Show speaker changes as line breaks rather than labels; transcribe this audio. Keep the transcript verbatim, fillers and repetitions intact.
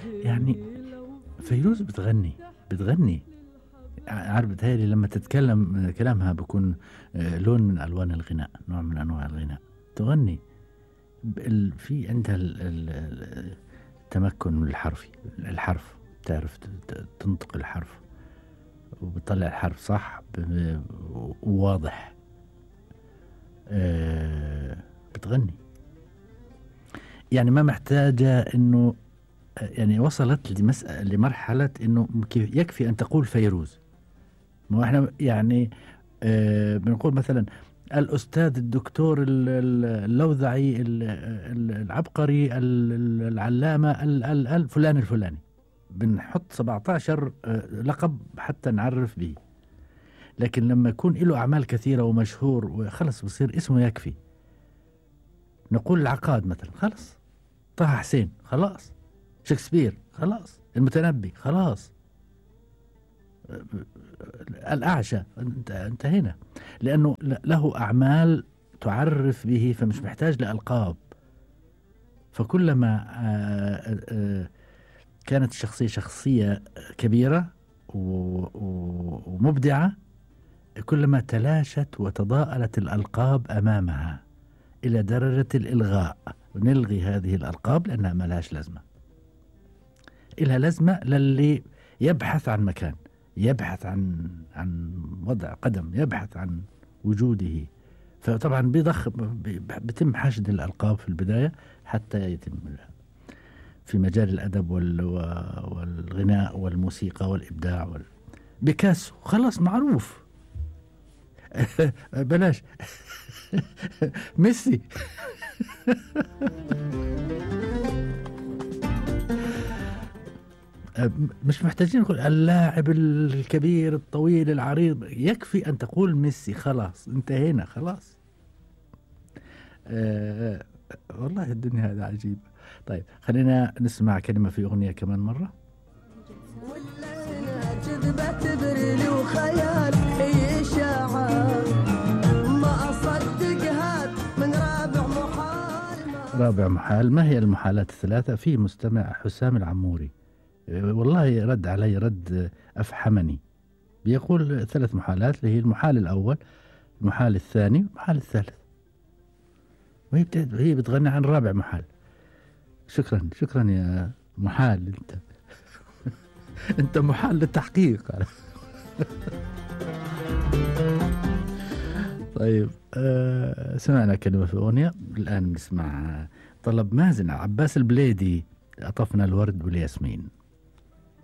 يعني فيروز بتغني بتغني عارف، بتهيألي لما تتكلم كلامها بيكون لون من ألوان الغناء، نوع من أنواع الغناء. تغني في عندها التمكن من الحرف الحرف تعرف تنطق الحرف وبتطلع الحرف صح وواضح. بتغني يعني ما محتاجة إنه يعني وصلت لمسألة لمرحلة إنه يكفي أن تقول فيروز. ما إحنا يعني آه بنقول مثلا الأستاذ الدكتور اللوذعي العبقري العلامة الفلان الفلاني، بنحط سبعة عشر لقب حتى نعرف به. لكن لما يكون له أعمال كثيرة ومشهور وخلص بصير اسمه يكفي. نقول العقاد مثلا خلص، طه حسين خلاص، شكسبير خلاص، المتنبي خلاص، الأعشى انتهينا، لأنه له أعمال تعرف به فمش محتاج لألقاب. فكلما كانت الشخصية شخصية كبيرة ومبدعة كلما تلاشت وتضاءلت الألقاب أمامها إلى درجة الإلغاء. نلغي هذه الألقاب لأنها ما لهاش لازمة. إلها لازمة للي يبحث عن مكان، يبحث عن عن وضع قدم، يبحث عن وجوده. فطبعا بيضخ بيتم حشد الألقاب في البداية حتى يتم في مجال الأدب والغناء والموسيقى والإبداع وال... بيكاسو خلاص معروف. بلاش ميسي. مش محتاجين نقول اللاعب الكبير الطويل العريض، يكفي أن تقول ميسي خلاص انتهينا خلاص. أه والله الدنيا هذا عجيب. طيب خلينا نسمع كلمة في أغنية كمان مرة. كذبة تبريلي وخيال هي إشاعة ما أصدقها من رابع محال. رابع محال، ما هي المحالات الثلاثة؟ في مستمع حسام العموري والله رد علي رد أفحمني، بيقول ثلاث محالات اللي هي المحال الأول، المحال الثاني، المحال الثالث، وهي هي بتغني عن رابع محال. شكرا شكرا يا محال، انت انت محال للتحقيق. طيب آه سمعنا كلمة في أغنية، الآن نسمع طلب مازن عباس البليدي، أطفنا الورد والياسمين.